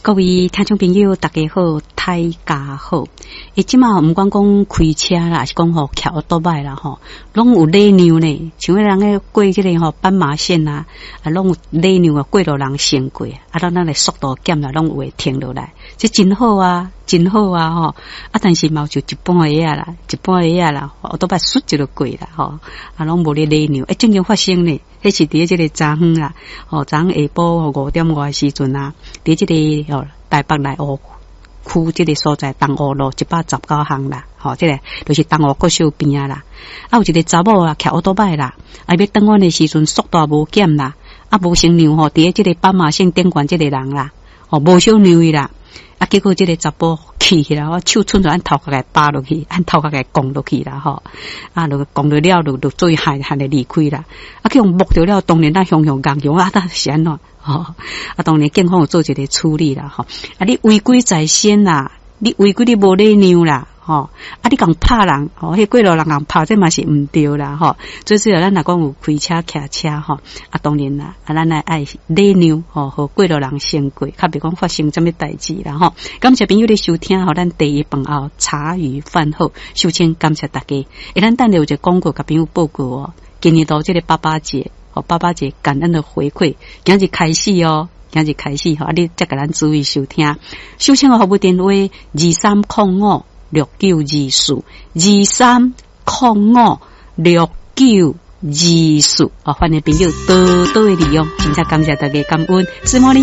各位聽眾朋友，大家好，大家好。欸，這馬毋管講開車啦，抑是講吼騎歐多擺啦吼，攏有禮讓呢。像彼人咧過這个吼斑馬線啊，啊，攏有禮讓啊，過路人先過，啊，咱咱的速度減啦，攏有會停落來，這真好啊，真好啊吼。啊，但是嘛有就一般的仔啦，一般的仔啦，歐多擺倏就過啦吼，啊，攏無咧禮讓。欸，正經發生呢，彼是佇這个昨昏啦，吼，昨昏下晡5點外時陣啊，佇這个吼台北內湖區這个所在東湖路119項啦，吼，這个就是東湖國小邊仔啦。啊，有一个查某啊，騎歐多擺啦，啊，欲轉彎的時陣速度無減啦，啊，無先讓吼，佇這个斑馬線頂懸這个人啦，吼，無小讓伊啦，啊，結果這个查埔氣起來，我手伸出按頭殼共巴落去，按頭殼共摃落去啦，吼，啊，就摃落了，就就做害害的離開啦，啊，去予摸著了，當然咱雄雄共雄啊，那是按怎？吼，啊，當然警方有做一个處理啦，吼，啊，你違規在先啦，你違規你無禮讓啦，吼，啊，你共拍人，吼，彼過路人共拍，這嘛是毋對啦，吼。最主要咱若講有開車騎車吼，啊，當然啦，啊，咱愛禮讓，吼，予過路人先過，較袂講發生啥物代誌啦，吼。感謝朋友的收聽，予咱第一飯後茶餘飯後，首先感謝大家。欸，咱等下有一个廣告，共朋友報告哦。今年度這个爸爸節。爸爸節感恩的回饋，今日開始哦，今日開始吼，啊，你才共咱注意收聽。收聽的服務電話23056924，23056924，哦，歡迎朋友多多的利用，真正感謝大家感恩，是莫哩。